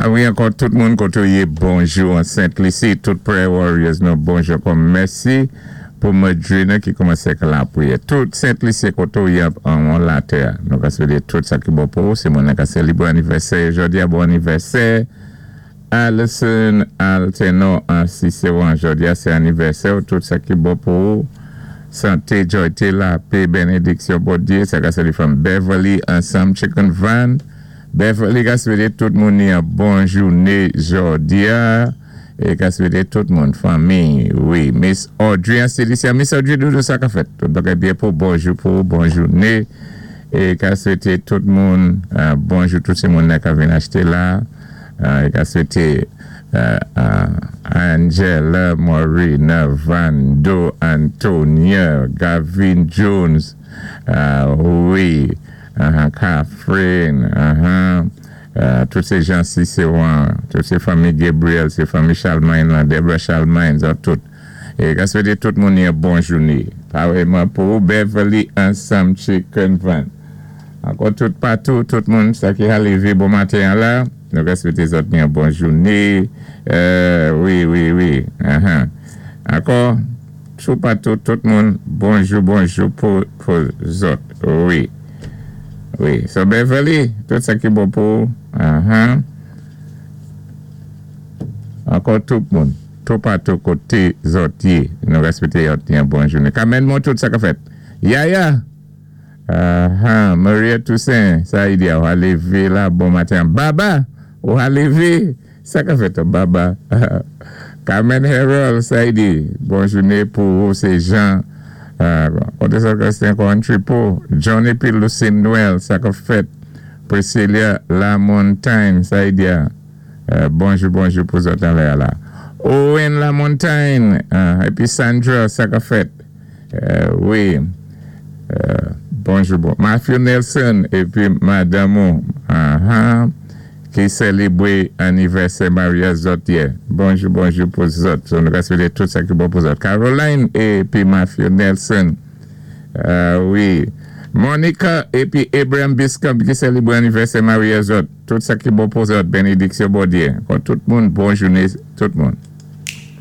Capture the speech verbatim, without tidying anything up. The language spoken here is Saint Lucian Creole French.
Wi, ankò tout moun koté ou yé, bonjou an Sent Lisi, tout prayer warriors nou bonjou ankò mèsi pou madrina ki koumansé ak lapriyè. Tout Sent Lisi koté ou yé an an latè. Nou ka swété tout sa ki bon pou ou, sé moun ka sélébwé anivèsè, jòdi a bon anivèsè. Alison Alteno an Siséwan, jòdi a sé anivèsè ou, tout sa ki bon pou ou. Santé, jòyté, lapè, bénédiksyon, Bondyé, sa ka sali from Beverly, ansanm Chicken Van. Beverly ka swété tout moun ni yon bon jouné jòdi a. É ka swété tout moun, fanmi, wi. Miss Audrey an Silicia, Miss Audrey, doudou sa ka fèt. Tout bagay byen pou bonjou pou bon jouné. É ka swété tout moun, euh, bonjou tout sé moun ka vin achté la. Euh, é ka swété euh, euh, Angela, Maureen, Vando, Antonia, Gavin Jones, euh, wi, uh, Catherine, uh-huh, euh, tout sé jan Siséwan, tout sé fanmi Gabriel, sé fanmi Charlemagne, la, Deborah Charlemagne, zòt tout. É ka swété tout moun yon bon jouné. Parèyman pou Beverly ansanm Chicken Van. Ankò tout patou, tout moun sa ki a lévé bon maten la, nou ka swété zòt yon bon jouné. Euh, wi, wi, wi. Uh-huh. Ankò, tout patou, tout moun, bonjou, bonjou pou, pou zòt. Wi. Wi. So Beverly, tout sa ki bon pou, uh-huh. Ankò tout moun, tout patou koté zòt yé, nou ka swété yon bon jouné. Kamèn moun tout sa ka fèt. Yaya! Uh-huh. Maria Toussaint, sa y di, ou a lévé la bon maten. Baba, ou a lévé. Sa ka fèt, Baba. Carmen Harold, sa y di, bon jouné pou ou, sé Jean. Koté sa ka sé ankò Tripo. John épi Lucine Noël, sa ka fèt. Priscilla Lamontagne, sa y di, euh, bonjou, bonjou pou zòt anlè la. Owen Lamontagne, euh, épi Sandra, sa ka fèt. Euh, wi. Euh, bonjou, bon. Matthew Nelson épi madanm ou, uh-huh, ki sélébwé anivèsè maryaj zòt yè. Bonjou, bonjou pou zòt. So, nou ka swété tout sa ki bon pou zòt. Caroline épi Matthew Nelson. Euh, wi. Monica épi Abraham Biscombe ki sélébwé anivèsè maryaj zòt. Tout sa ki bon pou zòt. Bénédiksyon Bondyé. Kon tout moun, bon jouné, tout moun.